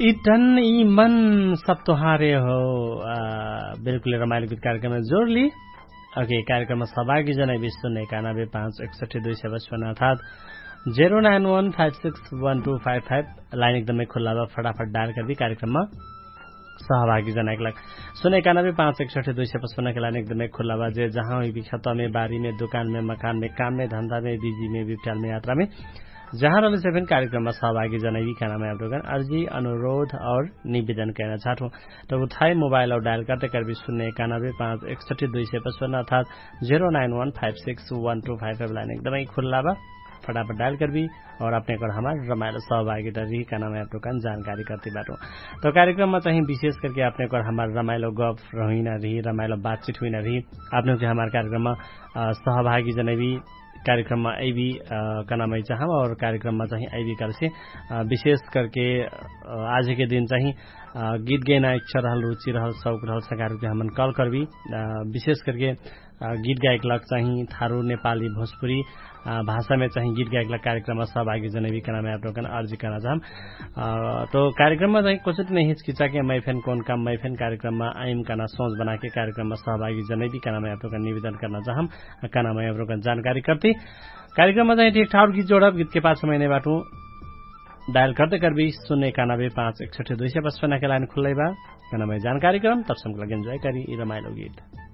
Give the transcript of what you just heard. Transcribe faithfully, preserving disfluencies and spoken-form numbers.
इतन ई मन सब तोहारे हो। बिल्कुल रमाइल गीत कार्यक्रममा जोरली। अके कार्यक्रममा सहभागी जनै विश्व नै एकानबे पाँच एकसठी दुई सय पचपन्न अर्थात zero nine one five six one two five five. Line एकदमै खुल्ला बा फटाफट डायल करबी कार्यक्रममा सहभागी जनाइक लाग सुन एकानबे पाँच एकसठी दुई सय पचपन्न के लाइन एकदमै खुल्ला बा जे जहाँ हुइबी खतमे बारीमे दुकानमे मकानमे काममे धन्दामे बिजीमे बिप्ठ्यालमे यात्रामे जहाँ रहले से फेन कार्यक्रममा सहभागी जनाइबी खानामे आप्रोगन अर्जी अनुरोध और निवेदन कैना चाहत हुँ। तब उठाइ मोबाइल और डायल करते करबी सुन्ने एकानबे पाँच एकसठी दुई सय पचपन्न अर्थात zero nine one five six one two five five line एकदमै खुल्ला बा। फटाफट डायल करबी और अपने कर हमार रमाइलो सहभागी त रिही कहना मै आप्रोगन जानकारी करती बाटो। तो कार्यक्रममा चाही विशेष करके अपने कर हमार रमाइलो गफ रहुइना रिही रमाइलो बातचित हुइना रिही। अपने के हमार कार्यक्रममा सहभागी जनैबी कार्यक्रममा अइबी कहना मै चाहम और कार्यक्रममा चाही अइबी कहलेसे विशेष करके आजके दिन चाही गीत गैना इच्छा रहल रुचि रहल शौक रहल सकारके हमन कल करबी। विशेष करके गीत गायक लग चाही थारु नेपाली भोजपुरी भाषामे चाही गीत गायक लग कार्यक्रममा सहभागी जनैबी कहना मै आप्रोगन अर्जी कहना चाहम। तो कार्यक्रममा चाही कोचट नै हिचकिचा के मै फेन कौन काम मै फेन कार्यक्रममा आइम कहना सोच बनाके कार्यक्रममा सहभागी जनैबी कहना मै आप्रोगन निवेदन करना चाहम। कहना मै आप्रोगन जानकारी करती कार्यक्रममा चाही ठीक ठाउर गीत जोडब गीतके पाछ मैनै बाटु डायल करते करबी सुन्ने एकानबे पाँच एकसठी दुई सय पचपन्न के लाइन खुल्लै बा। कहना मै जानकारी करम तब समक लग एन्जॉय करी यी रमाइलो गीत।